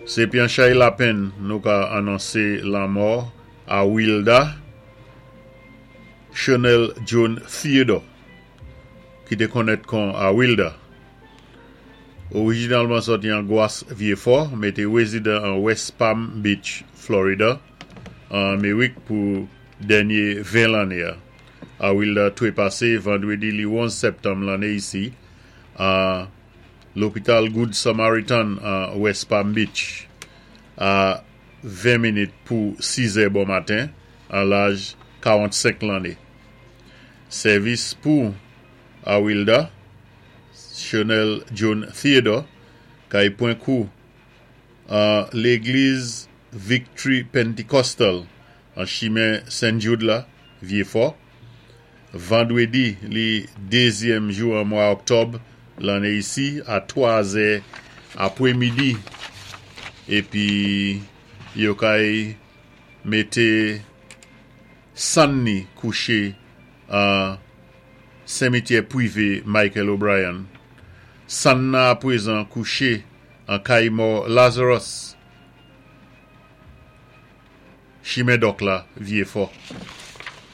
Sé pi an chay lapenn nou ka anonsé lanmò Awilda Chanel Joan Theodore ki té konnèt kon Awilda. Orijinalman sòti an Gwas Vyéfò, mé té wézidan an West Palm Beach, Florida, an Amerik pou dènyé 20 lanné. Awilda twépasé vandwédi li 11 sèptanm lanné isi an lopital Good Samaritan an West Palm Beach a 20 minit pou 6 zè bon maten an laj 45 lanné. Sèvis pou Awilda Chanel Joan Theodore kay pwan kou an légliz Victory Pentecostal an chimen St. Jude la, Vyéfò, vandwédi li dézyèm jou an mwa òktòb lanné isi a 3 zè apwémidi épi yo kay mété sann ni kouché an senmityè pwivé Michael O'Brien. Sann nan apwézan kouché an kay mò Lazarus, chimen Dòk la, Vyéfò.